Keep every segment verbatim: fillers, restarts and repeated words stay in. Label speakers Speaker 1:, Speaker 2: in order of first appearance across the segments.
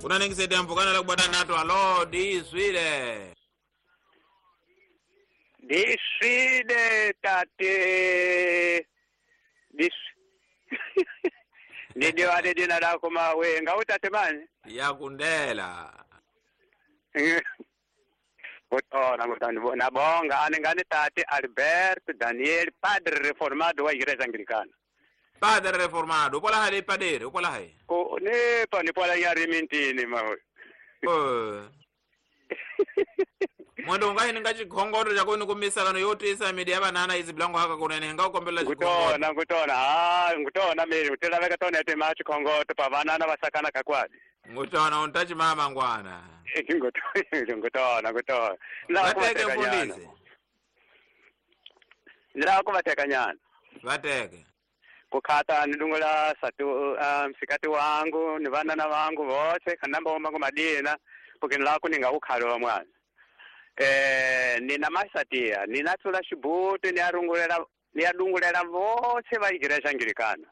Speaker 1: Kuna ningisaidia mvukana la kubata nato alo diswile.
Speaker 2: Diswile tate. Dis. Ndio ade dina lako mawe ngautate mani
Speaker 1: yakundela.
Speaker 2: Ngutona ngutona nabonga ane ngane tate Albert Daniel padre reformado wa Igreja Anglicana.
Speaker 1: Padre reformado upola hali padre upola hai.
Speaker 2: Ko ne pa ni pola ya rimintini mawe.
Speaker 1: Eh. Mwendo ungahi ninga chikhongoto chako nikumisakano yotisa midi ya banana izi blango haka kunene nga ukombela chikhongoto.
Speaker 2: Ngutona ngutona ah ngutona mimi utelaveka tona ete ma chikhongoto pa banana vasakana kakwadi.
Speaker 1: Ngutona untachi mama ngwana.
Speaker 2: Ngutona ngutona ngutona.
Speaker 1: Vateke mfundisi.
Speaker 2: Ndila kuvateka nyana.
Speaker 1: Vateke.
Speaker 2: Kukhata nidungula satu um, sikati wangu ni vanana vangu vose kanamba ombango madina porque nilako ningaukhalo wa mwana. Eh nina masatia ninatsula xibuti niyarungulela niyadungulela vose va Igreja Anglicana.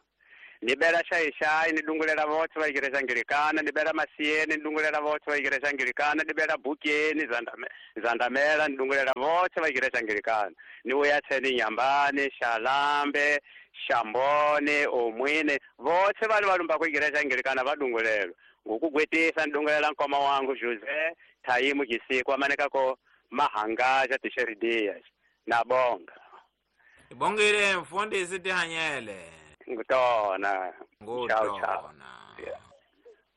Speaker 2: Nibela xaixai nidungulela vose va Igreja Anglicana, nibela Masieni nidungulela vose va Igreja Anglicana, nibela Bukeni Zandame Zandamela nidungulela vose va Igreja Anglicana. Niuya tseni Nyambani, Xalambe, Xambone, Omwine, vose vali valumba ku Igreja Anglicana vadungulelwa. Ngokugwetisa nidungulela nkoma wangu José Taimu Gisiko amaneka ko Mahangaja Teixeira Dias. Nabonga.
Speaker 1: Ibongile mfundisi tihanyele.
Speaker 2: Ngutona.
Speaker 1: Ngutona.
Speaker 2: Ciao, ciao. Yeah.